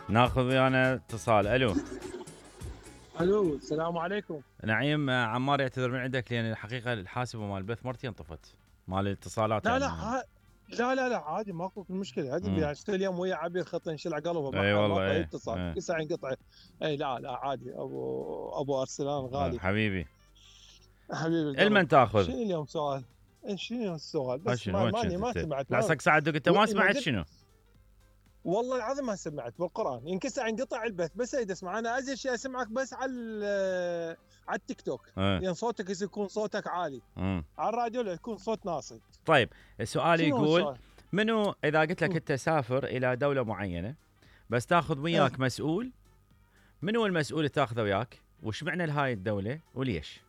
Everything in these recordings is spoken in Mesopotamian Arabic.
ناخذ ويانا اتصال. الو الو، السلام عليكم. نعيم. عمار يعتذر من عندك لان الحقيقه الحاسبه مال البث مرتين طفت مال الاتصالات لا يعني لا لا عادي، ماكو مشكله. عادي اليوم ويا عبير خط انشلع قلبه اي والله. ما اي يتصل يسع ينقطع. اي لا عادي. ابو ارسلان غالي حبيبي حبيبي القلب. المن تاخذ؟ شنو اليوم سؤال؟ شنو اليوم السؤال؟ بس شنو وين كنت ما انت؟ سمعت. لا ساعدك انت ما سمعت شنو؟ والله العظيم ما سمعت بالقران. ينكسر ينقطع البث بس اريد اسمع. انا ازين شيء اسمعك بس على التيك توك، يعني صوتك يكون صوتك عالي. على الراديو لا يكون صوت ناصي. طيب السؤال يقول منو اذا قلت لك انت سافر الى دوله معينه بس تاخذ وياك مسؤول، منو المسؤول اللي تاخذه وياك؟ وش معنى لهاي الدوله وليش؟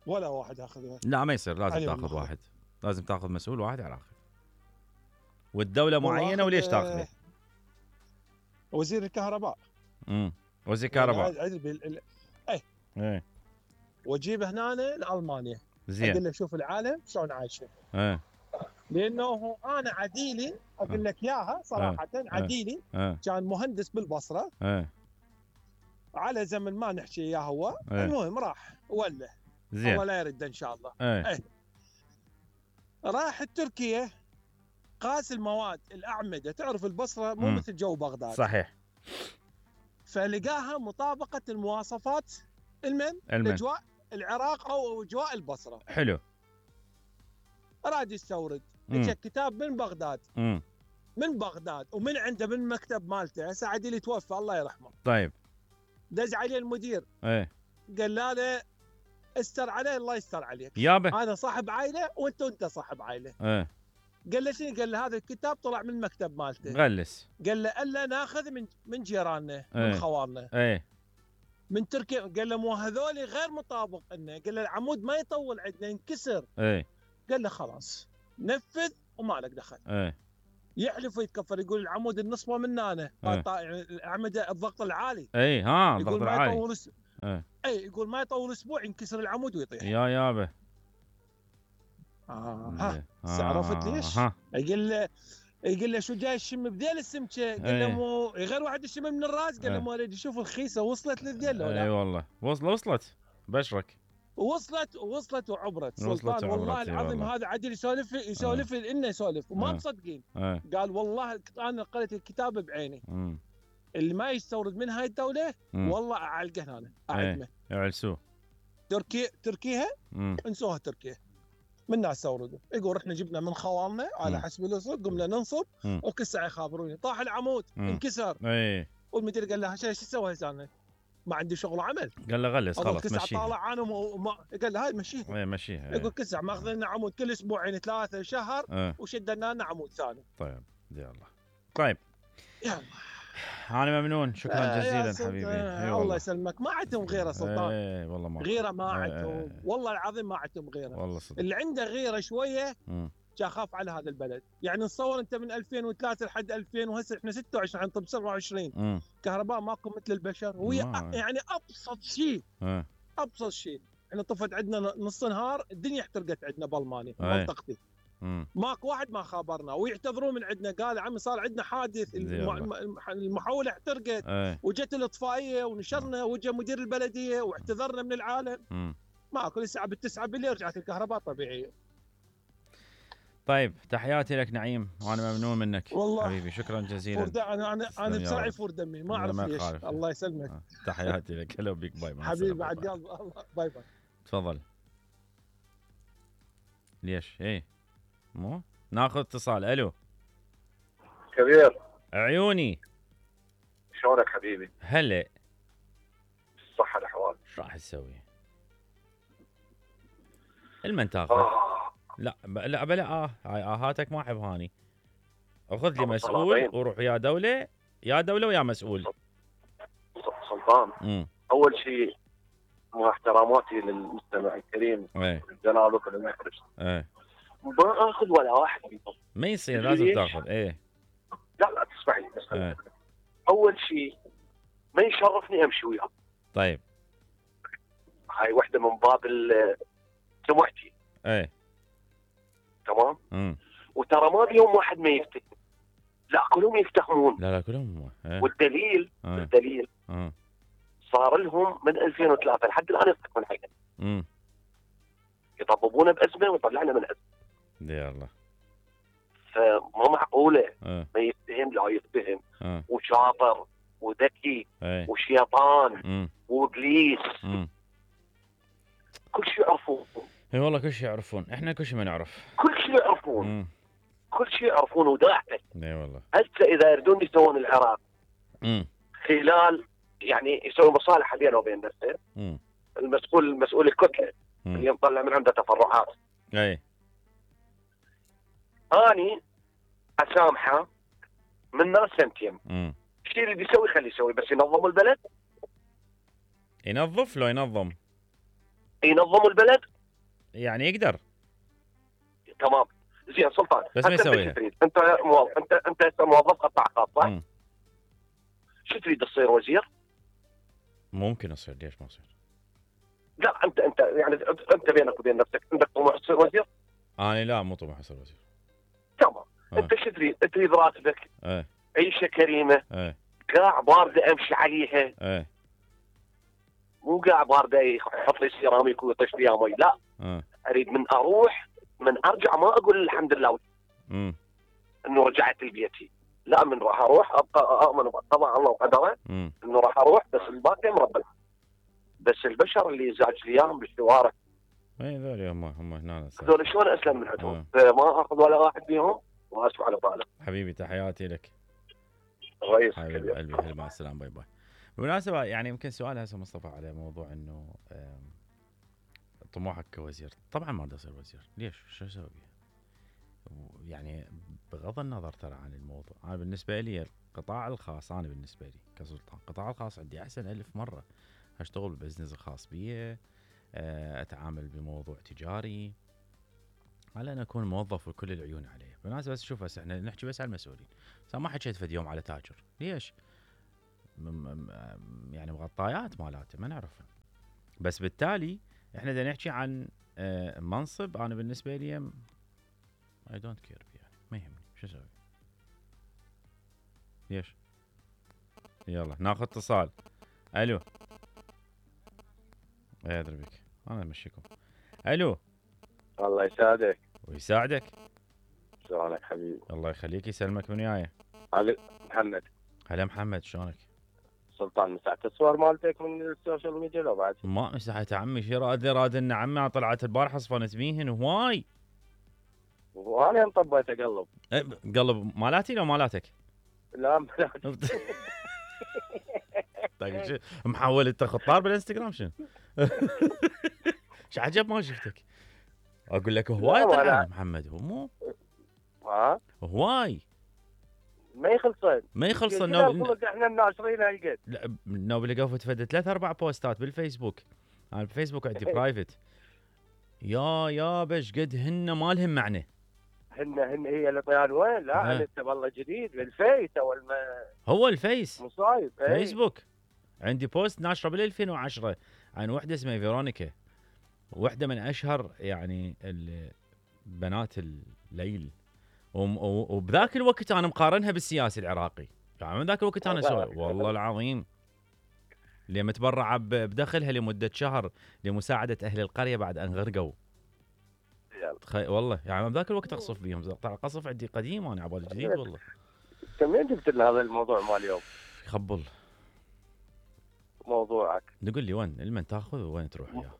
ولا واحد اخذ وياك. لا ما يصير، لازم تاخذ واحد. لازم تاخذ مسؤول واحد على الاخر. والدوله معينه وليش تاخذه؟ وزير الكهرباء. وزير الكهرباء. ايه واجيبه هنا لالمانيا. زين. اقول له شوف العالم شلون عايشه. لانه انا عديلي اقول لك اياها صراحه. عديلي كان مهندس بالبصره. على زمن ما نحكي اياه هو. المهم راح ولا زين. الله لا يرد ان شاء الله. راح تركيا قاس المواد الاعمده. تعرف البصره مو مثل جو بغداد. صحيح. فلقاها مطابقه المواصفات الاجواء العراق او اجواء البصره. حلو. راد يستورد. اجى كتاب من بغداد. من بغداد ومن عنده من المكتب مالته. هسه عديل توفى الله يرحمه. طيب دز عليه المدير. قال له استر عليه الله يستر عليك يابا. انا صاحب عائله وانت صاحب عائله. قال له شنو؟ قال له هذا الكتاب طلع من المكتب مالته. غلس. قال له الا ناخذ من جيراننا من خوارنا. من تركيا. قال له مو هذول غير مطابق لنا. قال له العمود ما يطول عندنا ينكسر. قال له خلاص نفذ وما لك دخل. يحلف ويتكفر يقول العمود النصبه من هنا. الاعمده الضغط العالي. الضغط العالي. يقول ما يطول اسبوع ينكسر العمود ويطيح. يا يابا. عرفت ليش؟ يقول له شو جاي الشم بذيل السمكه؟ قال له مو غير واحد يشم من الراس. قال له ما اريد اشوف الخيسه وصلت للذيل ولا. اي والله وصلت بشرك. وصلت وعبرت سلطان. والله العظيم هذا عدل يسولف لنا يسولف وما مصدقين. قال والله انا قريت الكتاب بعيني. اللي ما يستورد من هاي الدوله والله اعلقه هنا اعدمه. يعلسوه. تركيا انسوها. تركيا من ناس استوردوا. يقول رحنا جبنا من خوالنا على حسب الوصول قمنا ننصب وكل ساعه يخابروني طاح العمود انكسر. والمدير قال له شو تسوي هسه؟ ما عندي شغل وعمل. قال له غلس خلاص مشيها. طالع انا قال له هاي مشيها. مشيها. يقول كل ساعه ماخذ لنا عمود كل اسبوعين 3 شهر وشدنا لنا عمود ثاني. طيب يلا. طيب يلا. انا ممنون. شكرا جزيلا حبيبي. الله يسلمك. ما عندهم غيره سلطان. والله ما غيره ما عندهم. والله العظيم ما عندهم غيره. والله صدق. اللي عنده غيره شويه خاف على هذا البلد. يعني نصور انت من 2003 لحد 2000 وهسه احنا 26 حنطب 27. كهرباء ماكو مثل البشر. وهي يعني ابسط شيء. ابسط شيء. احنا طفت عندنا نص نهار الدنيا احترقت عندنا بالمانيا منطقتي. ماكو واحد ما خابرنا ويعتذرون من عندنا. قال عمي صار عندنا حادث المحوله احترقت. وجت الاطفائيه ونشرنا وجا مدير البلديه واعتذرنا من العالم. ماكو. الساعه ب9 بالليل رجعت الكهرباء طبيعيه. طيب تحياتي لك نعيم وانا ممنون منك والله حبيبي. شكرا جزيلا. انا بسرعه يفور دمي ما اعرف ليش. الله يسلمك. تحياتي لك. هلا بيك. باي. حبيبي بعد يلا الله. باي. تفضل. ليش مو ناخذ اتصال. الو كبير عيوني. شلونك حبيبي؟ هلا. الصحة الاحوال. ايش راح تسوي؟ المن تاخذ؟ لا بلا هاي اهاتك ما احب هاني. اخذ لي مسؤول وروح يا دوله ويا مسؤول. سلطان. اول شيء مع احتراماتي للمستمع الكريم جنابك المخرج. ما اخذ ولا واحد منهم. ما يصير لازم تاخذ. لا تسمح لي. اول شيء ما يشرفني امشي وياه. طيب هاي وحده من باب لا كلهم يفتهمون. لا كلهم والدليل الدليل صار لهم من 2003 لحد الان يضحكون علينا. يطببونا بازمه ويطلعنا من ازمه. يا الله. فما معقوله ما يتهم لا يتهم وشاطر وذكي وشيطان وابليس. كل شيء يعرفون. اي والله كل شيء يعرفون، احنا كل شيء ما نعرف. كل شيء يعرفون. كل شيء يعرفون وداعته. اي والله. هسه اذا يردون يسوون العراق خلال يعني يسوون مصالحه بينه وبين نفسه. المسؤول الكتله اللي مطلع من عنده تفرعات. اي. اني اسامحه من ناس سنتين. الشيء اللي بيسوي خليه يسوي، بس ينظموا البلد. ينظف لو ينظم. ينظموا البلد يعني يقدر. تمام. زين سلطان، بس ما يسويها. انت موظف قطاع خاص صح؟ شو تريد تصير وزير؟ ممكن اصير، ليش ما اصير؟ لا انت يعني انت بينك وبين نفسك عندك طموح تصير وزير؟ انا لا مو طموح اصير وزير. تمام. انت شو تريد؟ تريد راتبك عيشه كريمه قاع بارده امشي عليها مو قاع بارده يحط لي سيراميك ويطش فيها مي، لا اريد من اروح من ارجع ما اقول الحمد لله انه رجعت لبيتي، لا من راح اروح ابقى اؤمن بقضاء الله وقدره انه راح اروح، بس الباقي مربى. بس البشر اللي زاج لي اياهم بالشوارع اي ذول هم هنا هذول شلون اسلم من عندهم؟ فما اخذ ولا واحد فيهم واسف على طالع. حبيبي تحياتي لك. رئيس حبيبي قلبي، هلا مع السلامه، باي باي. بالمناسبه يعني يمكن سؤال هسه مصطفى على موضوع انه طموحك كوزير. طبعا ما بدي اصير وزير، ليش؟ شو اسوي؟ يعني بغض النظر ترى عن الموضوع، انا بالنسبه لي القطاع الخاص، انا بالنسبه لي كسلطان القطاع الخاص عندي احسن 1000 مره. اشتغل بالبزنس الخاص بي، اتعامل بموضوع تجاري، على ان اكون موظف وكل العيون عليه. بالمناسبه بس شوف، احنا نحكي بس على المسؤولين، بس ما حكيت فد يوم على تاجر، ليش؟ يعني مغطيات مالاته ما نعرفها. بس بالتالي احنا بدنا نحكي عن منصب. انا بالنسبه لي اي دونت كير يعني ما يهمني شو اسوي. ليش؟ يلا ناخذ اتصال. الو. اي ادري بك، انا امشيكم. الو. الله يسعدك. ويساعدك. شلونك حبيبي؟ الله يخليك، يسلمك. من وياي؟ محمد. هلا محمد، شلونك؟ سلطان، مسحت الصور مالتك من السوشيال ميديا لو بعد؟ ما مسحت عمي، شي راد لنا عمي. طلعت البارحه صفنت بيهن هواي. وانا طبيت اقلب. قلب مالاتي لو مالاتك؟ لا مالاتي. طيب محول انت خطار بالانستغرام شنو؟ شو عجب ما شفتك. اقول لك هواي طلع محمد، هو مو هواي ما يخلصن احنا الناشرين هالقد. لا نوبل قفت فد 3-4 بوستات بالفيسبوك. انا بالفيسبوك عندي برايفت. يا بش قد هن ما لهم معنى. هن هي اللي طيان وين؟ لا انت والله جديد بالفيس اول ما هو الفيس مصايب. فيسبوك عندي بوست ناشره بال 2010 عن وحده اسمها فيرونيكا، وحده من اشهر يعني بنات الليل، وبذاك الوقت انا مقارنها بالسياسي العراقي. يعني من ذاك الوقت انا اسوي والله العظيم اللي متبرعه بدخلها لمده شهر لمساعده اهل القريه بعد ان غرقوا. والله يعني من ذاك الوقت اقصف بيهم. طلع قصف عندي قديم وانا عبالي جديد والله. انت منين جبت لنا هذا الموضوع مال اليوم؟ يخبل موضوعك. تقول لي وين المن تاخذ وين تروح وياه؟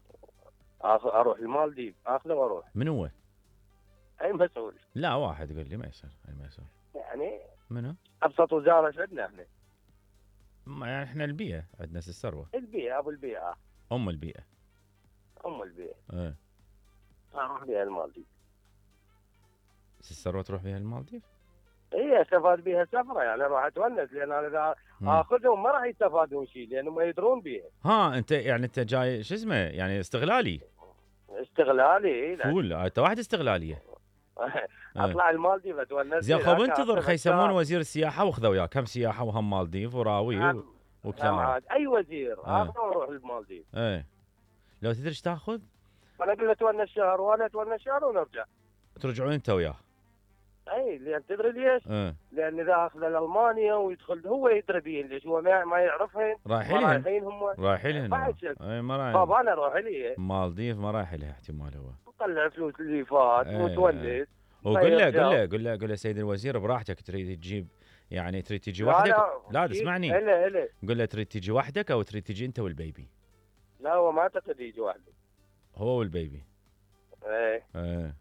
اروح المالديف اخذه واروح. من هو؟ اي مسؤول؟ لا واحد يقول لي ما يصير. اي ما يصير يعني منو؟ ابسط وزاره ايش عندنا احنا؟ يعني احنا البيئه عندنا الثروه. البيئه ابو البيئه. ام البيئه. ايه اروح بيها المالديف. الثروه تروح بيها المالديف؟ اي استفاد بيها سفره، يعني اروح اتونس، لان انا اذا اخذهم ما راح يستفادون شيء لانهم ما يدرون بيها. انت يعني انت جاي شو اسمه يعني استغلالي فول. انت واحد استغلاليه. اطلع المالديف اتونس. زين خب انتظر خي يسمون وزير السياحه واخذوا وياك. هم سياحه وهم مالديف وراوي وكلام. اي وزير اخذه واروح المالديف. لو تدري ايش تاخذ؟ انا اقول له اتونس شهر وانا اتونس شهر ونرجع. ترجعون انت وياه؟ اي لان تدري ليش؟ لان اذا اخذ المانيا ويدخل هو يدري بيهن ليش هو ما يعرفهن. رايحين هم رايحين اي ما رايح. طب انا اروح لي مالديف ما رايح لها احتمال هو طلع فلوس اللي فات وتولد. وقول له سيد الوزير براحتك تريد تجيب يعني تريد تجي وحدك. لا اسمعني. قول له تريد تجي وحدك او تريد تجي انت والبيبي. لا هو ما اعتقد يجي وحده. هو والبيبي. ايه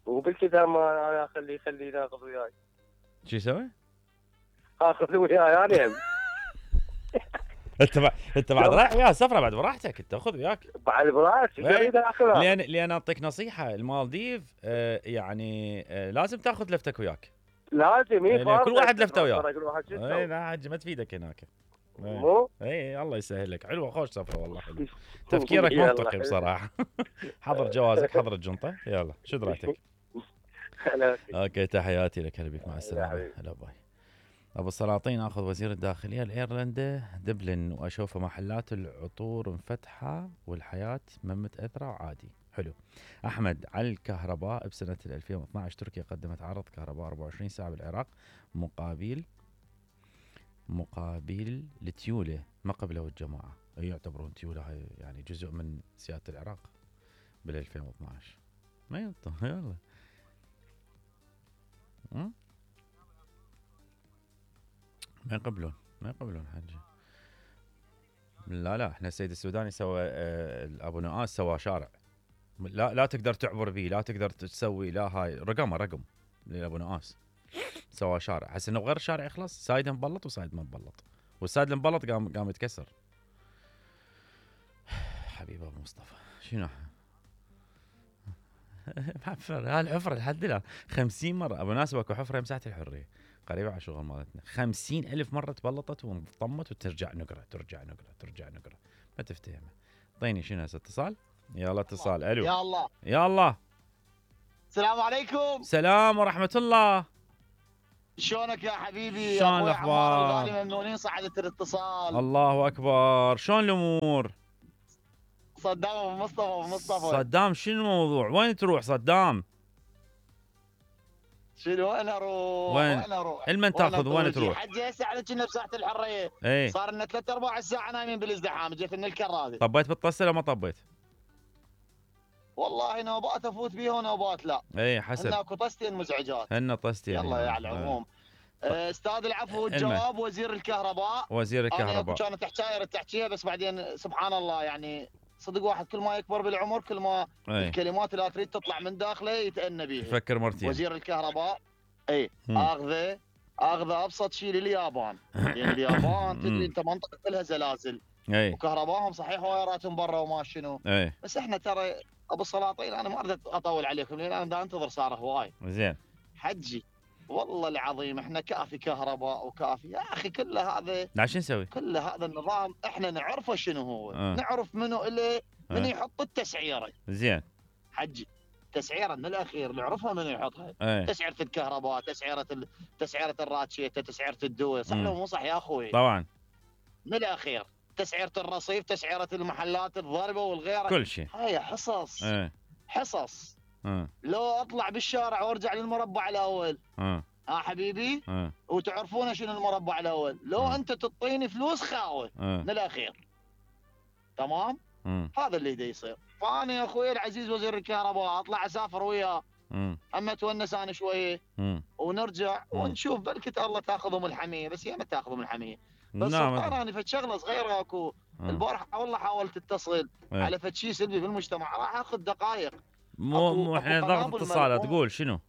وبالكذا ما انا خليه ناخذ وياي. شو يسوي؟ اخذ وياي انا. انت بعد رايح وياه سفره بعد براحتك انت خذ وياك. بعد براحتك لان اعطيك نصيحه المالديف يعني لازم تاخذ لفتك وياك. لازم كل واحد لفته وياه. اي لا حج ما تفيدك هناك. اي الله يسهل لك. حلوه خوش سفره والله حلو. تفكيرك منطقي بصراحه. حضر جوازك حضر الجنطه يلا شو درايتك. اوكي تحياتي لك هلا بك مع السلامه. هلا باي. ابو السلاطين اخذ وزير الداخليه لايرلندا دبلن واشوفه محلات العطور مفتحه والحياه ما متاثره وعادي. حلو. احمد على الكهرباء بسنه 2012 تركيا قدمت عرض كهرباء 24 ساعه بالعراق مقابل لتيوله ما قبله الجماعه. يعتبرون تيوله هاي يعني جزء من سياده العراق بال 2012. ما ينطق يلا. ما يقبلون حجي. لا احنا السيد السوداني سوى ابو نواس سوى شارع لا تقدر تعبر به لا تقدر تسوي لا هاي رقم لابو نواس سوى شارع. حس انه غير الشارع يخلص سايد مبلط وسايد ما مبلط والسايد المبلط قام يتكسر. حبيب ابو مصطفى شنو هالحفره لحد الان 50 مره ابو ناس اكو حفره مساحه الحريه قريبه على شغل مالتنا 50,000 مره تبلطت وانطمت وترجع نقره ترجع نقره ما تفتهمها. طيني شنو هسه اتصال. يلا اتصال. الو يا الله السلام عليكم. سلام ورحمه الله. شلونك يا حبيبي؟ شلون الاخبار؟ ممنونين صعدت الاتصال. الله اكبر. شلون الامور؟ صدام ابو مصطفى صدام شنو الموضوع؟ وين تروح صدام؟ شنو وين اروح؟ المن تاخذ وين تروح؟ حجي هسه احنا كنا بساحه الحريه. صار لنا 3/4 ساعه نايمين بالازدحام جيت من الكرادة. طبيت بالطسه ولا ما طبيت؟ والله نوبات افوت بيها ونوبات لا. حسب. هن اكو طستين مزعجات. هن طستين. يلا يا على العموم. استاذ العفو والجواب وزير الكهرباء. انا كانت حكايه تحكيها بس بعدين سبحان الله يعني صدق واحد كل ما يكبر بالعمر كل ما الكلمات اللي تريد تطلع من داخله يتأنى بيها. فكر مرتين. وزير الكهرباء اخذه ابسط شيء لليابان. لان اليابان تدري انت منطقه كلها زلازل. وكهربائهم صحيح وايراتهم برا وما شنو. بس احنا ترى ابو السلاطين انا ما اريد اطول عليكم لان انا دا انتظر صار هواي. زين. حجي والله العظيم احنا كافي كهرباء وكافي يا اخي كل هذا. لا شو نسوي؟ كل هذا النظام احنا نعرفه شنو هو. نعرف منو اللي من يحط التسعيره. زين. حجي تسعيره من الاخير نعرفها من يحطها. تسعيره الكهرباء تسعيره الراتشيته تسعيره الدواء صح لو مو صح يا اخوي؟ طبعا. من الاخير تسعيره الرصيف تسعيره المحلات الضربه والغيره كل شيء. هاي حصص. حصص. لو اطلع بالشارع وارجع للمربع الاول. حبيبي. وتعرفون شنو المربع الاول. لو انت تعطيني فلوس خاوه. من الاخير. تمام؟ هذا اللي دا يصير. فانا يا اخوي العزيز وزير الكهرباء اطلع اسافر وياه. اما اتونس انا شويه. ونرجع ونشوف بلكت الله تاخذهم الحميه بس هي ما تاخذهم الحميه. بس انا فد شغله صغيره اكو. البارحه والله حاولت اتصل على فد شيء سلبي في المجتمع راح اخذ دقائق. مو احنا ضغط اتصالات تقول شنو؟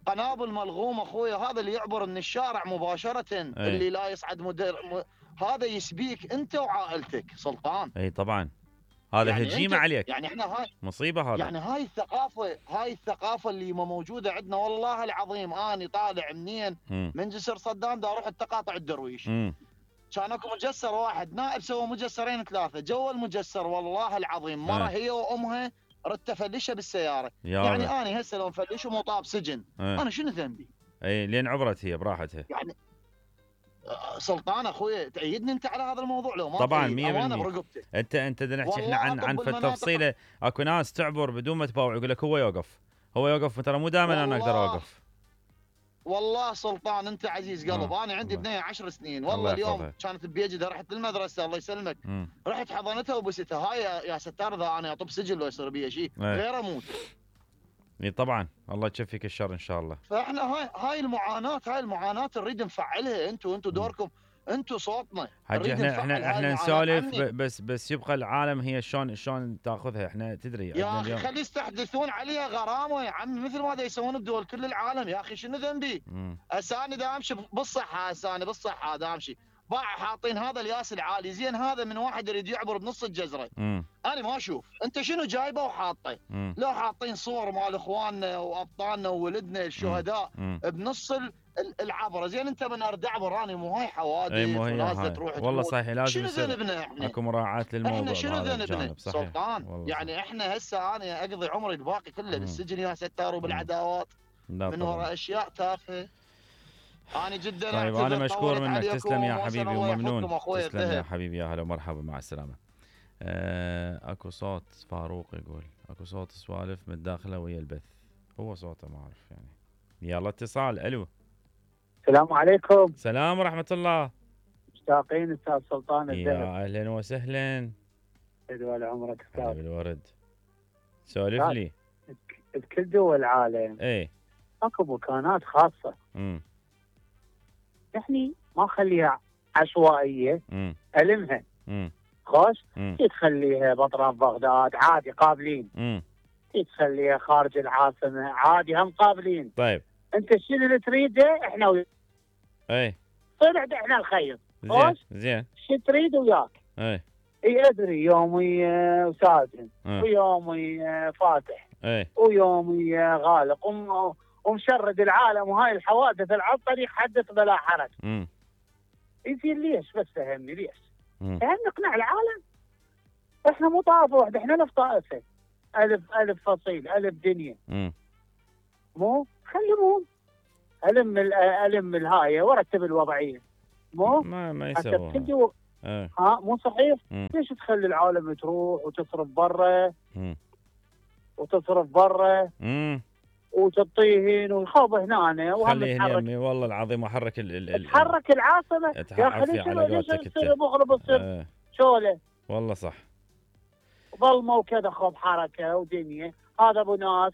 قنابل ملغوم اخوي هذا اللي يعبر من الشارع مباشره. اللي لا يصعد هذا يسبيك انت وعائلتك سلطان. اي طبعا هذا يعني هجيمه عليك. يعني احنا هاي مصيبه هذا. يعني هاي الثقافه اللي موجوده عندنا والله العظيم. اني طالع منين؟ من جسر صدام دا اروح التقاطع الدرويش. كان اكو مجسر واحد نائب سوى مجسرين 3 جو المجسر والله العظيم مره هي وامها ردت افلشها بالسياره. يعني انا هسه لو مفلش ومطاب سجن انا شنو ذنبي؟ لين عبرت هي براحتها. يعني سلطان اخوي تأيدني انت على هذا الموضوع لو ما طبعا 100%. انت نحكي احنا عن تفصيله. اكو ناس تعبر بدون ما تباوع يقول لك هو يوقف هو يوقف ترى مو دائما انا اقدر اوقف. والله سلطان انت عزيز قلب. انا عندي بنيه 10 سنين والله اليوم كانت بيجدها رحت للمدرسه الله يسلمك. رحت حضنتها وبستها. هاي يا ستار اذا انا اطب سجل لو يصير بي شيء غير اموت. اي طبعا الله يكفيك الشر ان شاء الله. فاحنا هاي المعاناه نريد نفعلها. انتم دوركم، انتم صوتنا. حجي احنا نسولف بس يبقى العالم هي شلون تاخذها. احنا تدري يا اخي خلي يستحدثون عليها غرامه يا عمي مثل ما دا يسوون بدول كل العالم. يا اخي شنو ذنبي؟ هسه انا دا امشي بالصحه. هسه انا بالصحه دا امشي باع حاطين هذا الياس العالي زين. هذا من واحد يريد يعبر بنص الجزره. انا ما اشوف انت شنو جايبه وحاطه. لو حاطين صور مال اخواننا وابطالنا وولدنا الشهداء بنص العبره زين. انت من ارد اعبر انا مو هاي حوادث ولازم تروح والله صحيح لازم شنو ذنبنا احنا؟ اكو مراعاه للموضوع. احنا شنو ذنبنا سلطان؟ يعني احنا هسه انا اقضي عمري الباقي كله بالسجن يا ستار وبالعداوات من وراء اشياء تافهه. انا جدا طيب انا مشكور منك. تسلم يا حبيبي وممنون. تسلم يا حبيبي. يا هلا ومرحبا مع السلامه. اكو صوت فاروق يقول اكو صوت سوالف متداخله ويا البث. هو صوته ما اعرف يعني. يلا اتصال. الو السلام عليكم. السلام ورحمه الله. مشتاقين استاذ سلطان الذهب. يا اهلا وسهلا. يدوى عمرك استاذ. بالورد. سولف لي. بكل دول العالم اكو مكانات خاصه. يعني ما خليها عشوائيه. المها. خوش تخليها باطراف بغداد عادي قابلين. تخليها خارج العاصمه عادي هم قابلين. طيب انت شنو اللي تريده احنا وياك. طلع احنا الخير. زين شو تريد وياك. اي ادري يومي وساجن ويومي فاتح ويومي غالق ومشرد العالم وهاي الحوادث العطري حدث بلا حرج. يصير ليش بس فهمني ليش؟ فهم نقنع العالم. احنا مو طائفه واحده احنا الف طائفه. الف فصيل الف دنيا. مو خليهم الم الهايه ورتب الوضعيه. مو ما يسوون. مو صحيح. ليش تخلي العالم تروح وتصرف برا وتطيهن والخوض هنا خليه يمي والله العظيم احرك تحرك العاصمه يا اخي. ليش تصير مغرب تصير شوله. والله صح. ظلمه وكذا خوض حركه ودنيا. هذا ابو ناس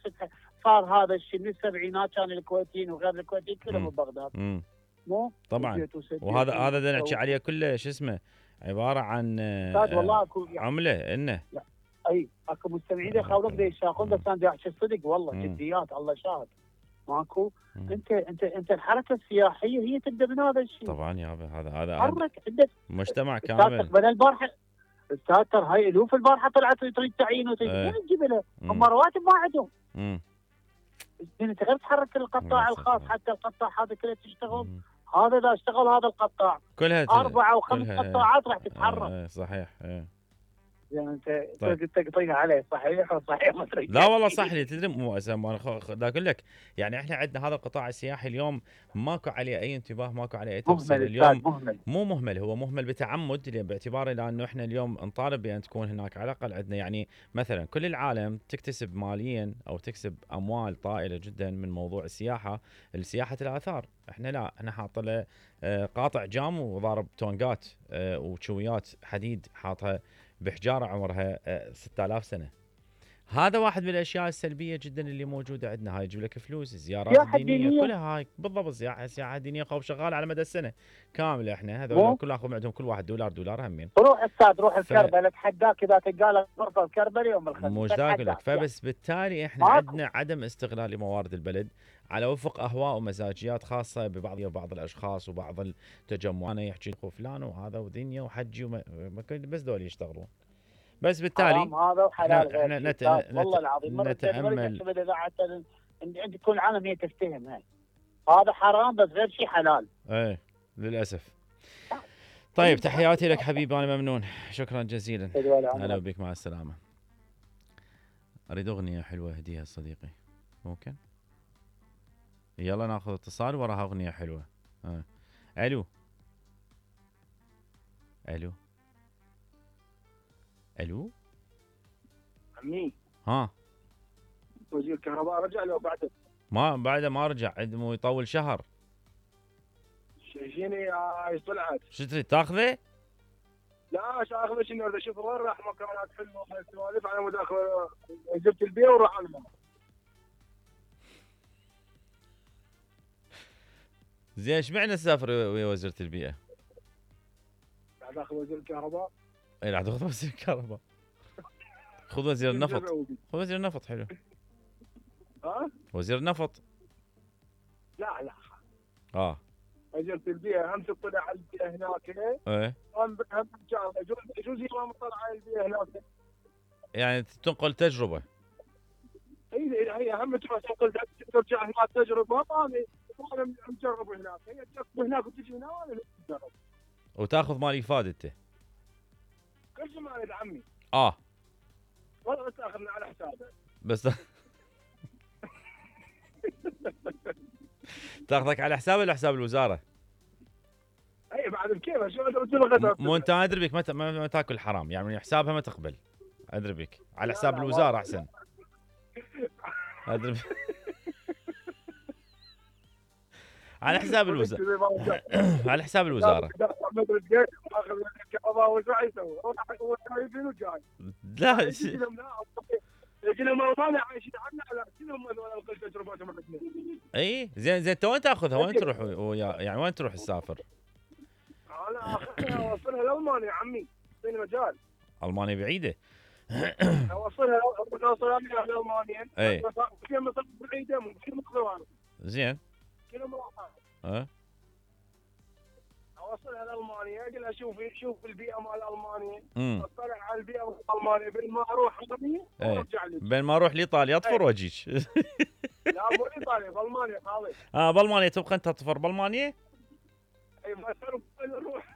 صار هذا الشيء من السبعينات كان الكويتيين وغير الكويتيين كلهم ببغداد. مو طبعا. وهذا اللي نحكي عليه كله شو اسمه عباره عن والله عمله انه اي اكو مستمعين يخاولوك دا يشاقون بس انا احكي الصدق والله جديات الله شاهد ماكو. انت الحركه السياحيه هي تبدا من هذا الشيء. طبعا يا هذا حرك عندك مجتمع كامل. بدل البارحه استاذ ترى هاي الوف البارحه طلعت تريد تعيين وتجيب لها هم رواتب ما عندهم. انت غير تحرك القطاع الخاص حتى القطاع هذا كله تشتغل. هذا اذا اشتغل هذا القطاع كلها 4 و5 قطاعات راح تتحرك. صحيح. يعني انت تقطيها عليه صحيح وصحيح ما تريد. لا والله صح لي. تدري مو دا اقول لك يعني احنا عندنا هذا القطاع السياحي اليوم ماكو عليه اي انتباه ماكو عليه اي تفصيل. اليوم مو مهمل. هو مهمل بتعمد باعتباره لانه احنا اليوم نطالب بان تكون هناك على الاقل عندنا يعني مثلا كل العالم تكتسب ماليا او تكسب اموال طائله جدا من موضوع السياحه الاثار. احنا لا. احنا حاط له قاطع جام وضارب تونجات وشويات حديد حاطها بحجاره عمرها 6000 سنه. هذا واحد من الاشياء السلبيه جدا اللي موجوده عندنا. هاي يجيب لك فلوس. الزيارات الدينيه كلها هاي بالضبط. سياحه دينيه خوف شغاله على مدى السنه كامله. احنا هذول كل اخذ عندهم كل واحد دولار همين. روح استاذ روح الكربلاء اتحداك اذا تلقى لك غرفه الكربلاء يوم الخميس. مش دا اقول لك. فبس بالتالي احنا عندنا عدم استغلال لموارد البلد على وفق اهواء ومزاجيات خاصه ببعض الاشخاص وبعض التجمعات. انا يحكي فلان وهذا ودنيا وحجي بس دول يشتغلون. بس بالتالي هذا وحلال احنا والله العظيم نتامل عند كل العالم هي تفتهم هاي. هذا حرام بس غير شيء حلال. للاسف. طيب تحياتي لك حبيبي انا ممنون. شكرا جزيلا. هلا بك مع السلامه. اريد اغنيه حلوه هديها صديقي ممكن. يلا ناخذ اتصال وراها اغنيه حلوه. الو عمي. وزير الكهرباء رجع لو بعده؟ بعده ما رجع، مو يطول شهر. شيني ايش طلعت؟ شو تريد تاخذه؟ لا اخذ شنو بدي اشوف وين راح مكانات حلوه سوالف على مود اخذ وزيره البيئه وراح على الماء. زين ايش معنى تسافر ويا وزيره البيئه؟ قاعد اخذ وزير الكهرباء. اي راح تاخذ وزير الكهرباء. خذ وزير النفط. خذ وزير النفط حلو. ها؟ وزير النفط. لا وزيرة البيئة هم تطلع على البيئة هناك. ايه هم يجوز ما مطلع على البيئة هناك. يعني تنقل تجربة. هي هم تنقل ترجع هناك تجربة. انا مجرب هناك، هي تجرب هناك وتجي هنا وانا مجرب. وتاخذ مال إفادة انت. كل شيء مال عمي. والله تاخذنا على حسابه. بس تاخذك على حساب ولا حساب الوزاره؟ اي بعد بكيف شو الغداء؟ مو انت ادري بك ما تاكل حرام، يعني حسابها ما تقبل. ادري بك على حساب الوزاره احسن. ادري على حساب الوزاره. على حساب الوزاره. لا اي زين تو وين تاخذها؟ وين تروح يعني وين تروح تسافر؟ انا اخذها اوصلها لالمانيا عمي، اعطيني مجال. المانيا بعيده. اوصلها لالمانيا. اي كم بعيده ممكن مقدار. زين كيلومترات. اوصلها لالمانيا، اقول لها شوف البيئه مال المانيا. اطلع على البيئه مال المانيا بين ما اروح وارجع لي. بين ما اروح لايطاليا اطفر واجيك. لا مو ايطاليا، بالمانيا خالص. بالمانيا تبقى انت تطفر بالمانيا؟ اي ما نروح.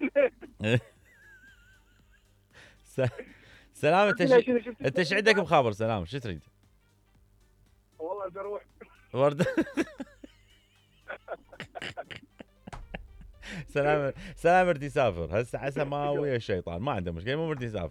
سلام. انت ايش عندك بخابر سلام؟ شو تريد؟ والله بدي اروح ورده. سلام اريد يسافر هسه ما ويا الشيطان، ما عنده مشكله، مو اريد يسافر.